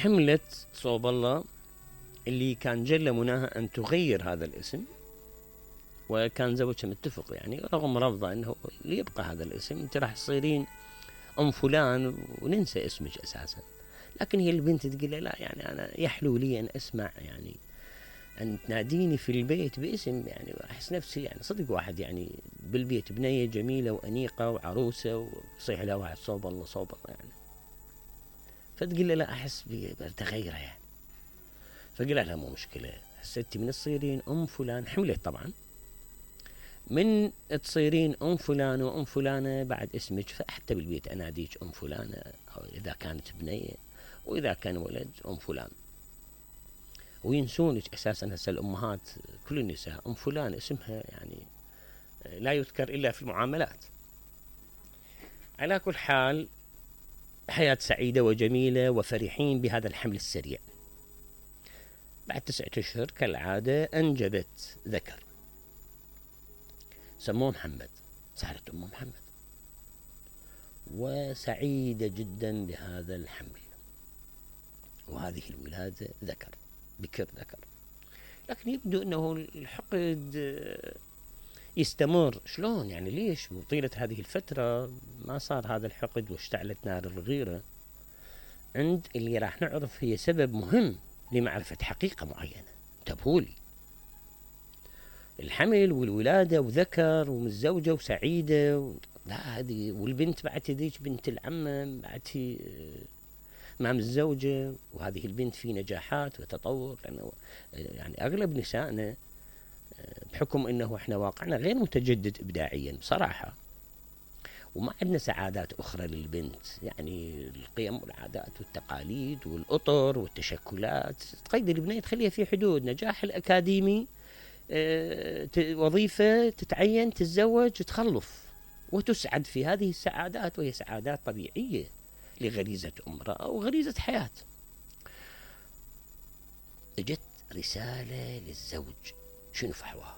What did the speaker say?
حملت صوب الله اللي كان جل مناها أن تغير هذا الاسم، وكان زوجها متفق يعني رغم رفضه أنه ليبقى هذا الاسم، أنت راح تصيرين أم فلان وننسى اسمك أساسا. لكن هي البنت تقول لا يعني أنا يحلو لي أن أسمع يعني أن تناديني في البيت باسم، يعني أحس نفسي يعني صدق واحد يعني بالبيت بنية جميلة وأنيقة وعروسة ويصيح لها واحد صوب الله صوب الله يعني. فتقول له لا أحس بتغيره يعني. فقال لها مو مشكلة، هسه انت من تصيرين أم فلان، حملت طبعا، من تصيرين أم فلان وأم فلانة بعد اسمك، فحتى بالبيت أناديك أم فلانة، أو إذا كانت بنية، وإذا كان ولد أم فلان، وينسونك أساسا. هسه الأمهات كل النساء أم فلان اسمها يعني لا يذكر إلا في المعاملات. على كل حال حياة سعيدة وجميلة وفرحين بهذا الحمل السريع. بعد 9 أشهر كالعادة أنجبت ذكر سموه محمد، صارت أم محمد وسعيدة جدا بهذا الحمل وهذه الولادة ذكر، بكر ذكر. لكن يبدو أنه الحقد يستمر. شلون يعني؟ ليش طيلة هذه الفترة ما صار هذا الحقد واشتعلت نار الغيرة؟ عند اللي راح نعرف هي سبب مهم لمعرفة حقيقة معينة. انتبهوا لي، الحمل والولادة وذكر ومتزوجة وسعيدة لا هذه، والبنت بعد تديك بنت العمة بعد هي ما متزوجة، وهذه البنت في نجاحات وتطور. لأنه يعني أغلب نسائنا بحكم أنه إحنا واقعنا غير متجدد إبداعيا بصراحة، وما عندنا سعادات أخرى للبنت، يعني القيم والعادات والتقاليد والأطر والتشكلات تقيد البنية، تخليها في حدود نجاح الأكاديمي، وظيفة، تتعين، تتزوج، تخلف، وتسعد في هذه السعادات، وهي سعادات طبيعية لغريزة امرأة وغريزة حياة. اجت رسالة للزوج، شنو فحواها؟